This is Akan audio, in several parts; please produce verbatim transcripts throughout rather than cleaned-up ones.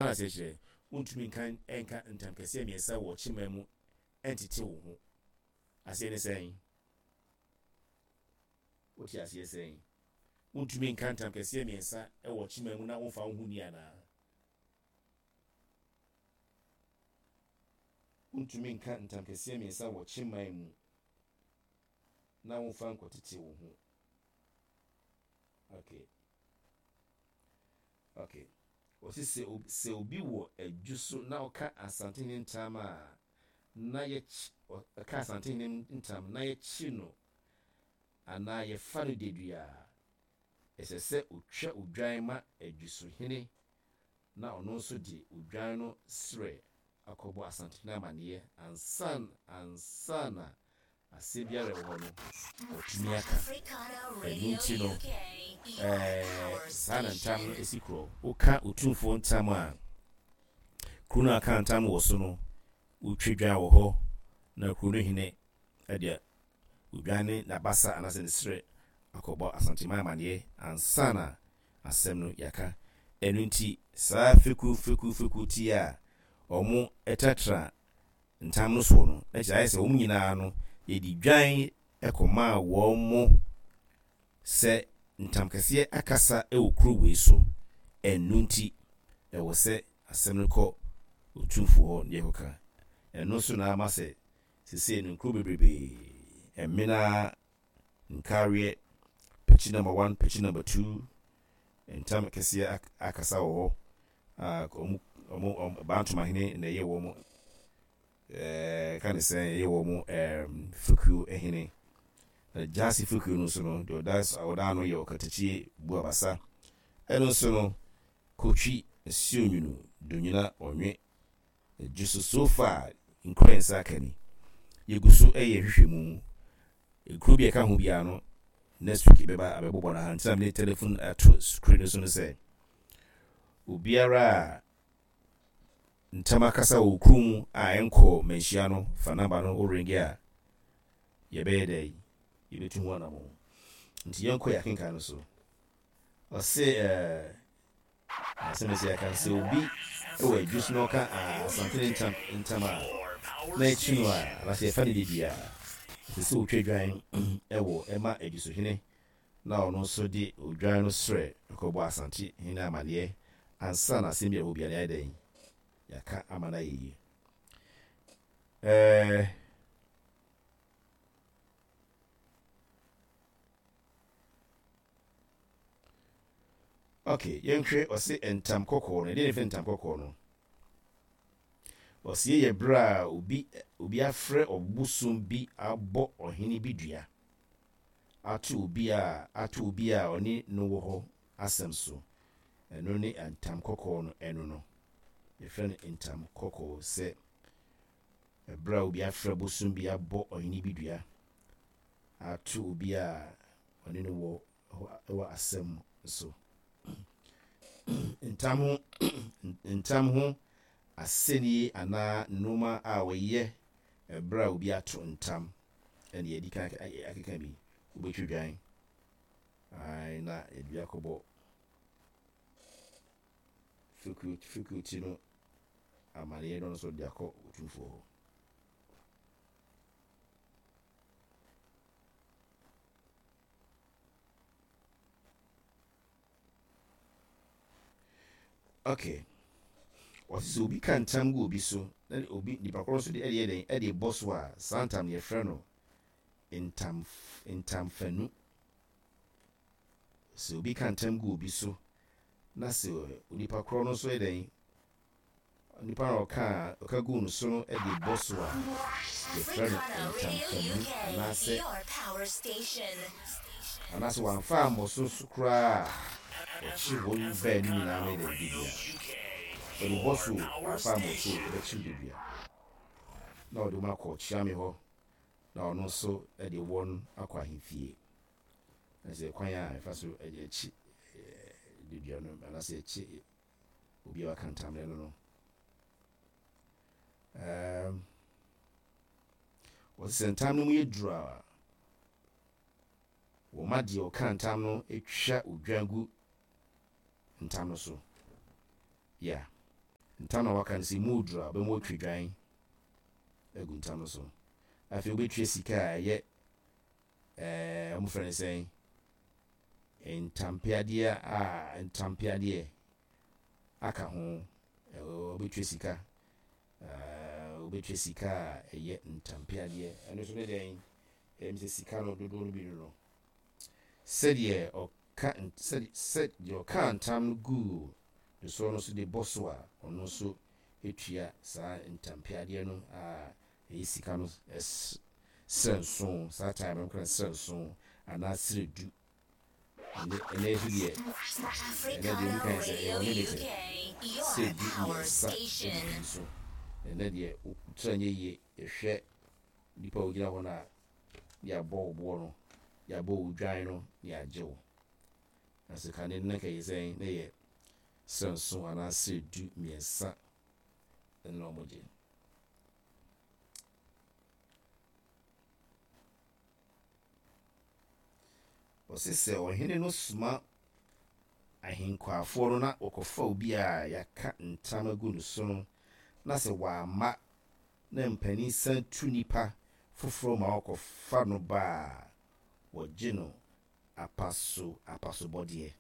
Na aseɛ kyerɛ wontumi nka nka ntam kɛseɛ mmiɛnsa wɔ kyema mu ɛntete wo ho. Aseɛ ne sɛn? Wote aseɛ sɛn? Wontumi nka ntam kɛseɛ mmiɛnsa wɔ kyema mu na womfa wo ho ni anaa? Wontumi nka ntam kɛseɛ mmiɛnsa wɔ kyeman mu na womfa nkɔtete wo ho. Okay. Okay. Wɔsi sɛ sɛ obi wɔ adwu so na ɔka Asantehene ntam a, na yɛkyi ɔka Asantehene ntam na yɛkyi no anaa yɛfa no dedua a, ɛsɛ sɛ otwa odwan ma adwusohene na ɔno nso de odwan no srɛ akɔbɔ Asantehene amanneɛ ansa ansa na asɛm biara ɛwɔ hɔ no ɔtumi aka. Ɛno nti no, ɛɛ saa na ntam no esi korɔ. Woka Otumfoɔ ntam a, kuro no a aka ntam wɔ so no, wotwa dwan wɔ hɔ na kuro no hene de odwan ne n'abasa anaasɛ ne serɛ akɔbɔ Asanteman amanneɛ ansa na asɛm no yɛaka. Ɛno nti saa fekuo fekuo fekuo ti a wɔn tratra ntam no soɔ no, na kyerɛ ayɛ sɛ wɔn nyinaa no yɛde dwan kɔmaa wɔn mo sɛ ntam kɛseɛ akasa wɔ kuro wei so. Ɛno nti ɛwɔ sɛ asɛm no kɔ Otumfoɔ hɔ na yɛkɔka. Ɛno nso na ama sɛ sesei no nkuro bebrebee, Ɛmena, Nkareɛ, Pekyi number one, Pekyi number two, ntam kɛseɛ akasa wɔ hɔ a ɔmo ɔmo Bantomahene na ɛyɛ wɔn ɛɛ ka ne sɛ ɛyɛ wɔn ɛɛm fekuo hene. Na Gyaase fekuo no nso no, deɛ ɔda ɔda ano yɛ Ɔkatakyie Buabasa. Ɛno nso no, Kotwi, Asuonwunu, Donyina, Ɔnwe, Dwo so. So far nkura nsa aka ni. Yɛgu so ɛyɛ hwehwɛmu. Kuro bi a ɛka ho biara no, next week bɛba abɛbobɔ no ha. Nti na mede telephone ato screen no so no sɛ obiara a ntam akasa wɔ kuro mu a ɛnkɔ manhyia no, fa number no, wo ring a, yɛbɛyɛ dɛ yɛbɛtu ho anammɔn. Nti yɛnkɔ yɛ akenkan no so. Ɔse ɛɛ asɛm ɛsɛ yɛaka sɛ obi wɔ adwu so na ɔka Asantene ntam ntam a na akyi no a anaasɛ yɛfa no dedua a, ɛsɛ sɛ otwa dwan ɛwɔ ɛma adwusohene na ɔno nso de odwan no srɛ ɛkɔbɔ Asante hene amanneɛ ansa na asɛm bi a ɛwɔ biara yɛayɛ dɛn yɛaka ama no ayɛ yie. Ɛɛ okay, yɛnhwɛ. Ɔse ntam kɔkɔɔ no, ɛdeɛ ne fɛ ntam kɔkɔɔ no? Ɔsie yɛ berɛ a obi obi afrɛ ɔbosom bi abɔ ɔhene bi dua ato obi a ato obi a ɔne no wɔ hɔ asɛm so. Ɛno ne ntam kɔkɔɔ no. Ɛno no yɛfrɛ no ntam kɔkɔɔ sɛ ɛberɛ a obi afrɛ bosom bi abɔ ɔhene bi dua ato obi a ɔne no wɔ wɔ asɛm so. Ntam ho ntam ho asɛnnie anaa nneɛma a wɔyɛ ɛberɛ a obi ato ntam ɛne yɛdi kan akeka bi. Wobɛtwa dwan na yɛde akɔbɔ faculty no amanneɛ no nso de akɔ Otumfoɔ hɔ. Okay, wɔte sɛ obi ka ntam gu obi so na obi nipa korɔ nso de ɛde yɛ dɛn ɛde bɔ so a, saa ntam no yɛfrɛ no ntam ntamfanu. Sɛ obi ka ntam gu obi so na sɛ onipa korɔ no nso yɛ dɛn, nipa na ɔka ɔka gu no so no de bɔ so a, yɛfrɛ no ntamfanu. Anaasɛ anaasɛ wamfa ammɔ so so koraa a, ɔkye wɔn baanu nyinaa no yɛ dɛn dedua. Ɔde bɔ so, wamfa ammɔ so, ɔbɛkyew dedua na ɔde wɔn akɔ Kyeame hɔ na ɔno nso de wɔn akɔ ahemfie. Na sɛ kwan a ɛfa so de akyi dedua no anaasɛ akyi obi a waka ntamne no no um, wɔte sɛ ntam no mu yɛ duru a, wɔma deɛ ɔka ntam no atwa odwan gu ntam no so. Yeah. Ntam na waka no sɛ mu duru a, wobɛma watwa dwan agu ntam no so. Afei wobɛtua sika a ɛyɛ ɛɛ wɔfrɛ no sɛn, ntampeadeɛ a ntampeadeɛ aka ho. Wobɛtua sika, wobɛtua sika a ɛyɛ ntampeadeɛ. Ɛno nso ne dɛn? Ɛyɛ sɛ sika no dodoɔ no bi no no. Sɛdeɛ ɔka sɛdeɛ sɛdeɛ ɔka ntam no guu ne soɔ no nso de bɔ so a, ɔno nso tua saa ntampeadeɛ no a ɛyɛ sika no srɛ nson. Saa time no kora srɛ nson anaa srɛ du. Ɛnɛ ɛnɛ nso deɛ, ɛnɛ deɛ obi kan sɛ ɛyɛ unlimited, srɛ du mmiɛnsa ɛdidi so. Ɛnɛ deɛ wotra nyɛ yie, yɛhwɛ nipa a ogyina hɔ no a, yɛabɔ wo boɔ no, yɛabɔ wo dwan no na yɛagye wo. Na sɛ kane no na nka yɛ sɛn, na yɛ srɛ nson anaa srɛ du mmiɛnsa ɛna ɔmo gye. Ɔse sɛ ɔhene no soma ahenkwafoɔ no na wɔkɔfa obi a yɛaka ntam agu no so no, na sɛ wamma na mpanin san tu nipa foforɔ ma wɔkɔfa no ba a, wɔgye no apaso apasobɔdeɛ.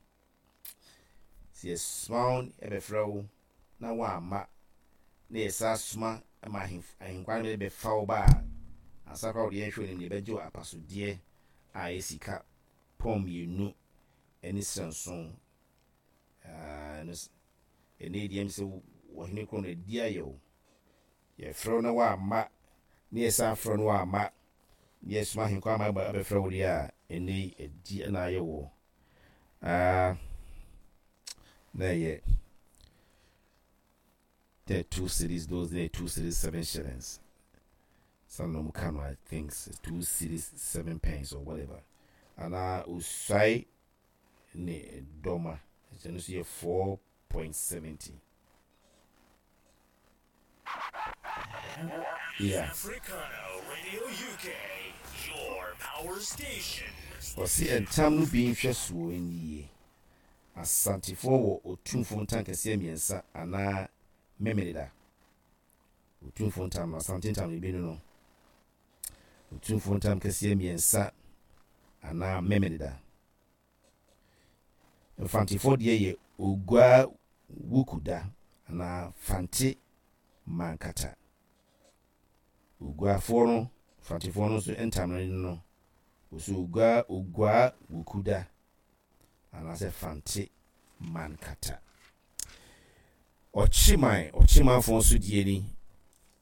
Sɛ yɛsoma wo ɛbɛfrɛ wo na wamma na yɛsa soma ma ahenkwa no bɛfa wo ba a, ansa koraa wɔde yɛnhwɛ onim deɛ yɛbɛgye wo apasodeɛ a ɛyɛ sika pɔn mmienu ne srɛ nson. Ɛnɛ deɛ sɛ ɔhene koro no adi ayɛ wo. Yɛfrɛ wo na wamma na yɛsan frɛ no wamma na yɛsoma ahenkwa ama abɛfrɛ wo deɛ a, ɛnɛ yi adi na ayɛ wo. Na ɛyɛ two cedis, those days two cedis seven shillings. Some of them come, I think two cedis seven pence or whatever. Anaa osuae ne dɔma ɛno nso yɛ four point seventy. Yeah. Africano Radio U K, your power station. Ɔsi ntam no bi nhwɛsoɔ yie. Asantefoɔ wɔ otumfoɔ ntam kɛseɛ mmiɛnsa anaa Memeneda. Otumfoɔ ntam no, Asante ntam no bi no no otumfoɔ ntam kɛseɛ mmiɛnsa anaa Memeneda. Mfantefoɔ deɛ yɛ Ogua Wukuda anaa Fante Mankata. Oguafoɔ no, Mfantefoɔ no nso ntam no no wɔsɛ Ogua Ogua Wukuda anaasɛ Fante Mankata. Ɔkyeman, ɔkyemanfoɔ nso deɛ ni.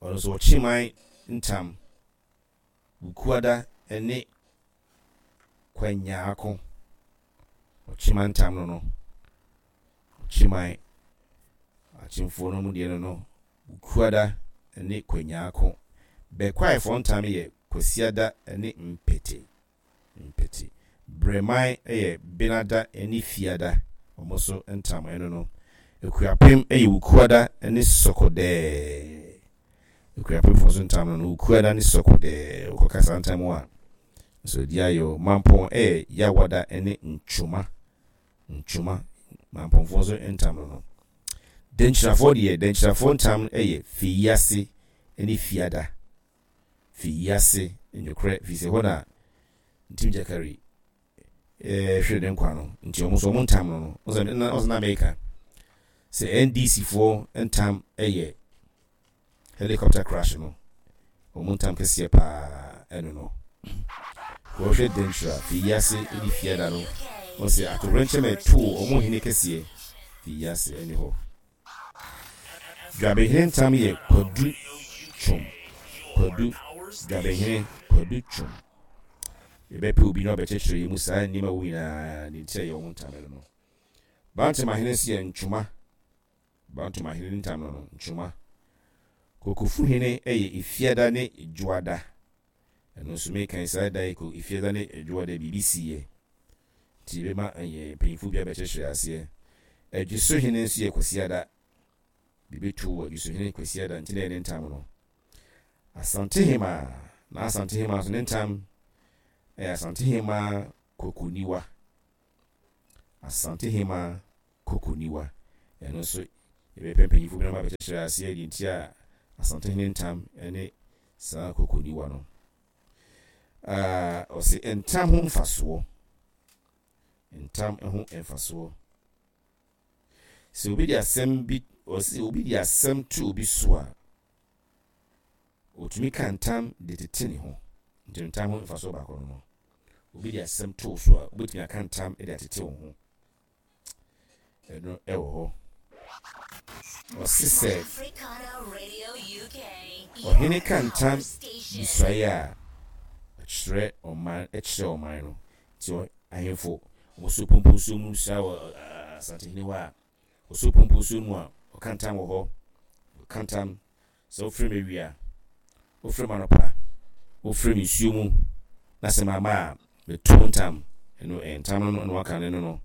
Ɔno nso ɔkyeman ntam Wukuada ne Kwanyaako. Ɔkyeman ntam no no ɔkyeman akyemfoɔ no mu deɛ no no Wukuada ne Kwanyaako. Bɛkwaefoɔ ntam yɛ Kwasiada ne Mpete Mpete. Brɛman yɛ Benada ne Fiada. Wɔn nso ntam ɛno no. Akuapem yɛ Wukuada ne Sɔkɔdɛɛ. Akuapemfoɔ nso ntam no no Wukuada ne Sɔkɔdɛɛ. Wokɔka saa ntam a nso di ayɛ o. Mampɔn yɛ Yawada ne Ntwoma Ntwoma. Mampɔnfoɔ nso ntam no no. Dɛnkyirafoɔ deɛ, dɛnkyirafoɔ ntam yɛ Feyiase ne Fiada. Feyiase nokorɛ firi sɛ hɔ na Ntim Gyakari ɛɛ hwere ne nkwa no, nti wɔn nso wɔn ntam no no ɔsɛ na ɔsɛ na Amerika sɛ N D C foɔ ntam yɛ helicopter crash no, wɔn ntam kɛseɛ paa ɛno no. Wɔhwɛ Dɛnkyira, Feyiase ne Fiada no, wɔsɛ atowerɛnkyɛm a ɛtoo wɔn hene kɛseɛ Feyiase ɛne hɔ. Dwabehene ntam yɛ Kwadu Twom. Kwadu Dwabehene Kwadu Twom. Yɛbɛpɛ obi na ɔbɛkyerɛkyerɛ yɛn mu saa nneɛma wo nyinaa ne nti a yɛ wɔn ntam no no. Bantamahene nso yɛ Ntwoma. Bantamahene ntam no no Ntwoma. Kokofuhene yɛ Efiada ne Dwoada. Ɛno nso mekan saa da yi ko Efiada ne Dwoada biribi siiɛ nti yɛbɛma ɛyɛ mpanyinfoɔ bi abɛkyerɛkyerɛ aseɛ. Adwisohene nso yɛ Kwasiada. Biribi to wɔ Adwisohene Kwasiada nti na yɛ ne ntam no. Asantehema na Asantehema nso ne ntam ɛyɛ Asantehema Kokoniwa. Asantehema Kokoniwa, ɛno nso Yɛbɛpɛ mpanyinfo bi na abɛkyerɛkyerɛ aseɛ deɛ nti a Asantehene ntam ne saa kokoniwa no. Ɔse ntam ho mfasoɔ. Ntam ho mfasoɔ. Sɛ obi de asɛm bi ɔse obi de asɛm to obi so a, otumi ka ntam de tete ne ho. Nti ntam ho mfasoɔ baako no no. Obi de asɛm to so a, wobɛtumi aka ntam de atete wo ho. Ɛno ɛwɔ hɔ. Ɔse sɛ ɔhene ka ntam bisuaeɛ a, ɔkyerɛ ɔman ɛkyerɛ ɔman no. Nti ahemfo wɔso pompo nsuo mu sua wɔ Asantehene hɔ a, wɔso pompo nsuo mu a, ɔka ntam wɔ hɔ. Ɔka ntam sɛ wofrɛ me awia, wofrɛ me anɔpa, wofrɛ me nsuo mu na sɛ mama a, meto ntam. Ɛno ɛyɛ ntam no na waka ne no no.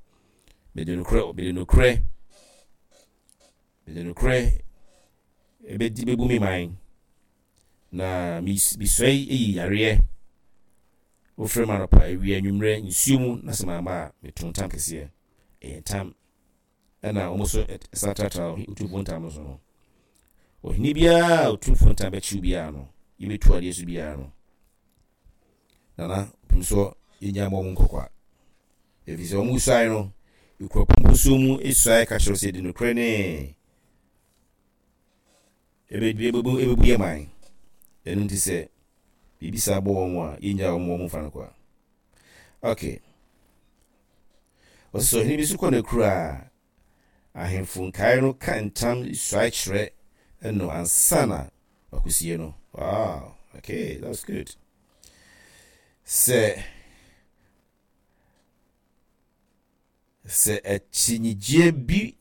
Mede nokorɛ mede nokorɛ mede nokorɛ ebedi bebu me man na misua yi yareɛ. Wofrɛ me anɔpa, awia, anwummerɛ, nsuo mu na sɛ mama a, meto ntam kɛseɛ. Ɛyɛ ntam. Ɛna wɔn nso san tratra Otumfoɔ ntam no so no. Ɔhene biara a Otumfoɔ ntam bɛkyew biara no, yɛbɛtu adeɛ so biara no, Nana pem so yɛnya mmɔ wɔn nkɔkwa. Ɛfiri sɛ wɔn suae no, ekura pɔmpɔsuo mu suae ka kyerɛ sɛ de nokorɛ ne ɛbɛbu ɛbɛbu yɛ man. Ɛno nti sɛ biribi saa bɔ wɔn a, yɛnya wɔn wɔn mfa no kwa. Okay. Ɔsɛ sɛ ɔhene bi nso kɔ n'akura a, ahemfo nkae no ka ntam suae kyerɛ no ansa na wakosie no. Wow, okay, that's good. Sɛ sɛ akyinnyegyeɛ bi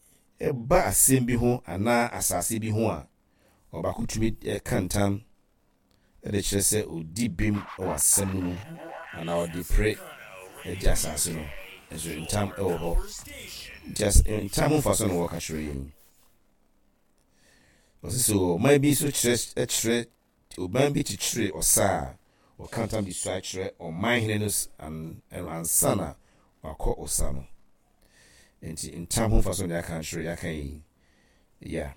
ba asɛm bi ho anaa asase bi ho a, ɔbaako tumi ka ntam de kyerɛ sɛ odi bem wɔ asɛm no mu anaa ɔde pere agye asase no. Nso ntam wɔ hɔ. Nti ntam ho mfaso na wɔka kyerɛ yɛn. Ɔsɛ sɛ ɔman bi nso kyerɛ kyerɛ ɔman bi kyekyere ɔsa a, ɔka ntam de sua kyerɛ ɔman hene no ansa na wakɔ ɔsa no. Nti ntam ho mfaso na yɛaka kyerɛ yɛaka yi. Yeah.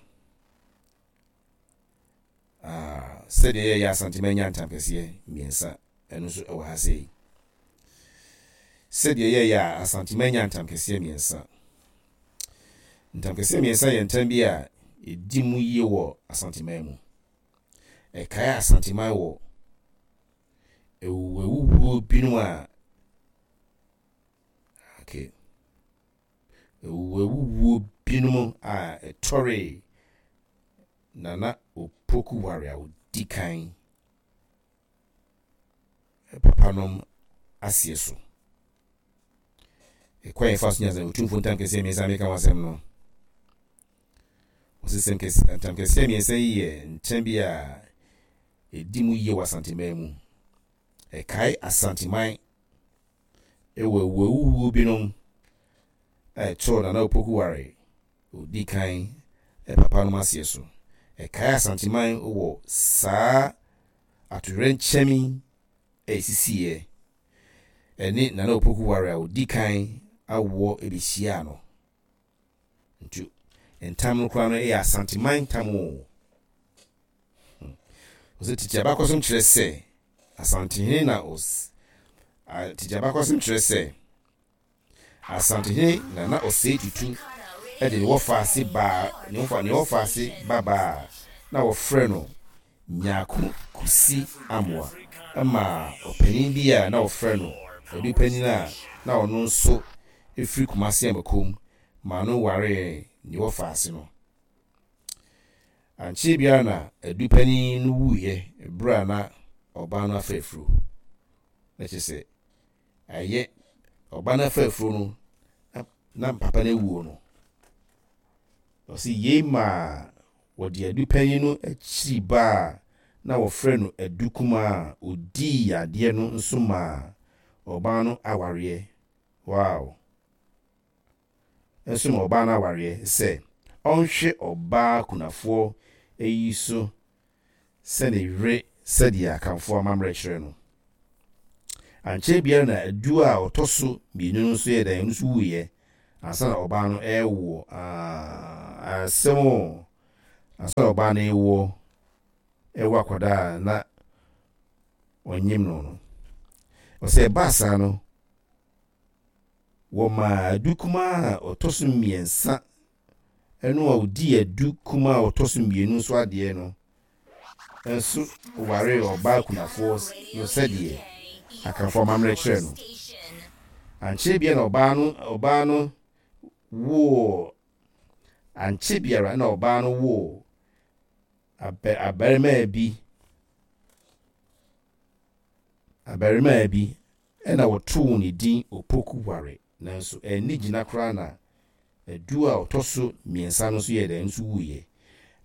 Ah, sɛdeɛ yɛyɛ Asantema nya ntam kɛseɛ mmiɛnsa, ɛno nso ɛwɔ ha sei. Sɛdeɛ yɛyɛ a Asantema nya ntam kɛseɛ mmiɛnsa. Ntam kɛseɛ mmiɛnsa yɛ ntam bi a ɛdi mu yie wɔ Asantema mu. Ɛkae Asantema wɔ awuwuo binom a okay. Awuwuo binom a ɛtɔre Nana Opoku Ware a odi kan papanom aseɛ so. Ɛkwan yɛfa so nya sɛ Otumfoɔ ntam kɛseɛ mmiɛnsa meka ho asɛm no. Ɔsɛ sɛm kɛseɛ ntam kɛseɛ mmiɛnsa yi yɛ ntam bi a ɛdi mu yie wɔ Asanteman mu. Ɛkae Asanteman ɛwɔ awuwuo binom a ɛtɔɔ Nana Opoku Ware odi kan papanom aseɛ so. Ɛkae Asanteman wɔ saa atoyerɛnkyɛm a ɛsisiiɛ ɛne Nana Opoku Ware a odi kan awoɔ ɛbɛhyiaa no. Nti ntam no koraa no ɛyɛ Asanteman ntam o. Ɔsɛ tete abakɔsɛm kyerɛ sɛ Asantehene na ɔs tete abakɔsɛm kyerɛ sɛ Asantehene Nana Osei Tutu ɛde ne wɔfa ase baa ne wɔfa ne wɔfa ase babaa na wɔfrɛ no Nyako Kusi Amoa ɛma ɔpanin bi a na wɔfrɛ no Adu Panin a na ɔno nso efiri Kumasi Amakom ma no waree ne wɔfa ase no. Ankyɛ biara na Adu Panin no wuiɛ berɛ a na ɔbaa no afa afuro. Na kyerɛ sɛ ɛyɛ ɔbaa no afa afuro no na papa no awuo no. Ɔsi yei maa wɔde Adu Panin no akyiri ba a na wɔfrɛ no Adu Kumaa a odii adeɛ no nso maa ɔbaa no awareɛ. Wow. Nso ma ɔbaa no awareɛ sɛ ɔnhwɛ ɔbaa kunafoɔ yi so sɛ ne yere sɛdeɛ Akanfoɔ amammerɛ kyerɛ no. Ankyɛ biara na Adu a ɔtɔ so mmienu no nso yɛ dɛn, ɔno nso wuiɛ Ansa na ɔbaa no ɛrewoɔ, aa asɛm o, ansa na ɔbaa no rewoɔ, ɛwɔ akwadaa a na ɔnyem no no. Ɔsɛ ɛbaa saa no, wɔmaa Adu kumaa a ɔtɔ so mmiɛnsa ɛno a ɔdii Adu kumaa a ɔtɔ so mmienu nso adeɛ no nso waree ɔbaa kunafoɔ no sɛdeɛ Akanfoɔ amammerɛ kyerɛ no. Ankyɛ biara na ɔbaa no ɔbaa no woo ankyɛ biara na ɔbaa no woo abɛ abarimaa bi abarimaa bi ɛna wɔtoo ne din Opoku Ware, nanso ɛnni gyina koraa na Adu a ɔtɔ so mmiɛnsa no nso yɛ dɛn nso wuiɛ.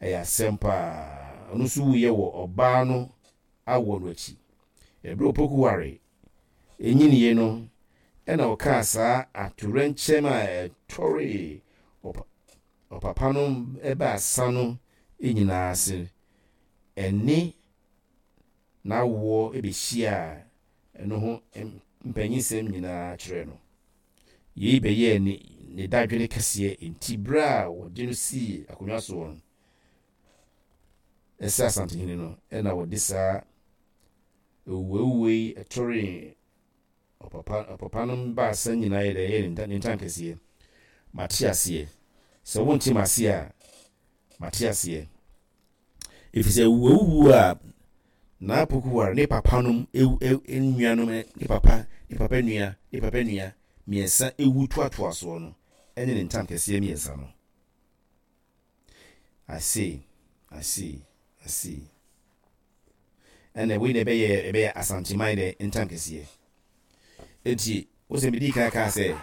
Ɛyɛ asɛm paa. Ɔno nso wuiɛ wɔ ɔbaa no awoɔ no akyi. Ɛberɛ Opoku Ware ɛnyiniiɛ no, ɛna ɔkaa saa atoyerɛnkyɛm a ɛtɔree ɔpapa no baasa no nyinaa ase. Ɛne n'awoɔ bɛhyiaa ɛno ho mpanyinsɛm nyinaa kyerɛɛ no. Yei bɛyɛɛ ne ne dadwene kɛseɛ, nti berɛ a wɔde no sii akonnwa soɔ no, ɛsɛ Asantehene no, ɛna wɔde saa awuawuo yi ɛtɔree ɔpapa ɔpapa no baasa nyinaa yɛ dɛ ɛyɛ ne ntam kɛseɛ. Mate aseɛ. Sɛ wonte m'ase a, mate aseɛ. Ɛfiri sɛ awuawuo a Naa Poku Ware ne papa nom ewu nuanom ne papa ne papa nua ne papa nua mmiɛnsa ewu toatoa soɔ no ɛne ne ntam kɛseɛ mmiɛnsa no. I see, I see, I see. Ɛna wei na ɛbɛyɛ ɛbɛyɛ Asanteman dɛ ntam kɛseɛ. Enti wo sɛ medii kan kaa sɛ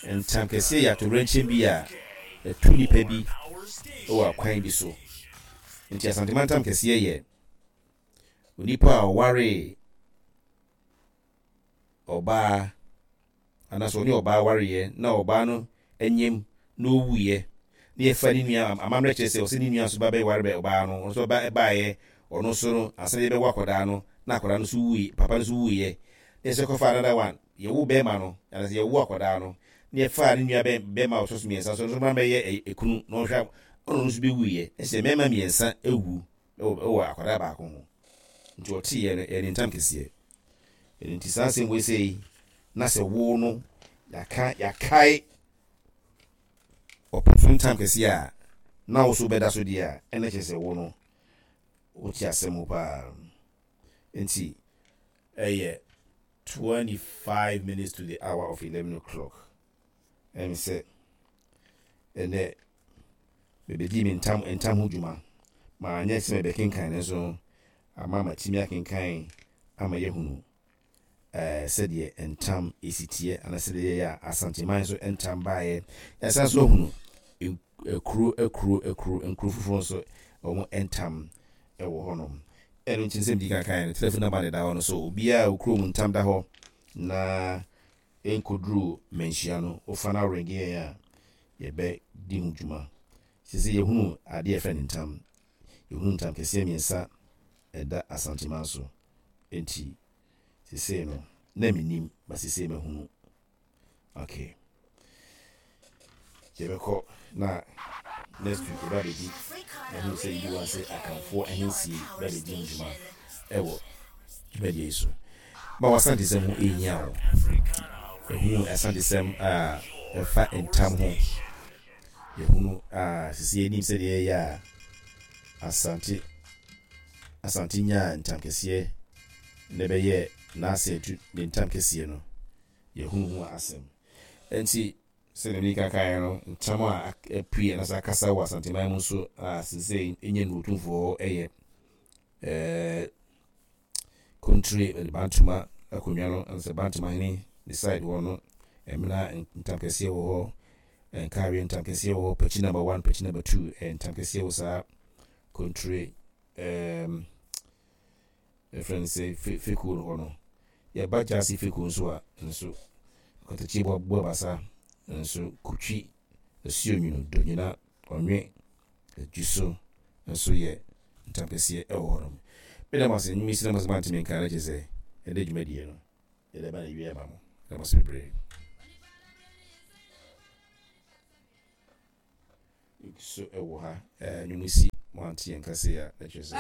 ntam kɛseɛ yɛ atoyerɛnkyɛm bi a ɛto nipa bi wɔ akwan bi so. Nti Asanteman ntam kɛseɛ yɛ onipa a ɔwaree ɔbaa anaasɛ ɔne ɔbaa wareɛ na ɔbaa no anyam na ɔwuiɛ na yɛfa ne nua, amammerɛ kyerɛ sɛ ɔsɛ ne nua nso ba bɛware bɛ ɔbaa no, ɔno nso ba baeɛ, ɔno nso no ansa na yɛbɛwo akwadaa no na akwadaa no nso wui, papa no nso wuiɛ, na yɛsɛ kɔfa another one, yɛwo bɛrima no anaasɛ yɛwo akwadaa no na yɛfaa ne nua bɛrima a ɔtɔ so mmiɛnsa nso, ɔno nso mmra mmɛyɛ ekunu na ɔnhwɛ, ɔno nso bɛwuiɛ, na sɛ mmarima mmiɛnsa awu wɔ akwadaa baako ho. Nti ɔteeɛ no, ɛyɛ ne ntam kɛseɛ. Ɛno nti saa asɛm wei sei na sɛ wo no yɛaka yɛakae ɔpɛfo ntam kɛseɛ a na wo so bɛda so deɛ a, ɛna kyerɛ sɛ wo no wote asɛm mu paa. Nti ɛyɛ twenty-five minutes to the hour of eleven o'clock. Ɛm sɛ ɛnɛ mebɛdi me ntam ntam ho dwuma. Maanyɛ sɛ mebɛkenkan, nanso ama matumi akenkan ama yɛhunu ɛɛ sɛdeɛ ntam esi teɛ anaa sɛdeɛ yɛyɛ a Asanteman nso ntam baeɛ. Yɛsan so ahunu akuro akuro akuro nkuro foforɔ nso wɔn ntam ɛwɔ hɔnom. Ɛno nti nsɛm di kankan no, telephone number ne da hɔ no so obiara a okuro mu ntam da hɔ na nkɔduru manhyia no, wofa no aworɛnge yɛn a yɛbɛdi ho dwuma. Sisi yɛhunu adeɛ yɛfrɛ no ntam, yɛhunu ntam kɛseɛ mmiɛnsa ɛda Asanteman so. Nti sesei no na menim ba sesei mahunu. Okay, yɛbɛkɔ na next week yɛba bɛdi mahunu sɛ yiwa sɛ Akanfoɔ ahensie ba bɛdi ho dwuma ɛwɔ dwumadie yi so. Ma w'asantesɛm ho ɛhia wo. Ɛhunu asantesɛm a ɛfa ntam ho. Yɛhunu a sisi yɛnim sɛdeɛ ɛyɛ a Asante Asante nyaa ntam kɛseɛ na ɛbɛyɛ n'ase atu ne ntam kɛseɛ no, yɛhunu ho asɛm. Nti sɛdeɛ mede kankan no, ntam a apue anaasɛ akasa wɔ Asanteman mu nso a sesei ɛnyɛ no Otumfoɔ ɛyɛ ɛɛ Kontire Bantama akonnwa no anaasɛ Bantama hene ne side hɔ no, ɛmena ntam kɛseɛ wɔ hɔ, Nkareɛ ntam kɛseɛ wɔ hɔ, Pakyi number one, Pakyi number two, ntam kɛseɛ wɔ saa Kontire ɛɛm ɛfrɛ no sɛ fekuo no hɔ no. Yɛba Gyaase fekuo nso a, nso Kɔtɔkye Buabasa nso Kotwi, Asuonwunu, Donyina, Ɔnwe, Adwuso nso yɛ ntam kɛseɛ ɛwɔ hɔ nom. Meda mo ase, nnwuma yi si na mo sɛ moantumi nka no kyerɛ sɛ ɛnɛ dwumadie no yɛde ba na ewie ama mo. Meda mo ase bebree. So ɛwɔ ha. Ɛɛ nnwom si mo ante yɛn kase a, na kyerɛ sɛ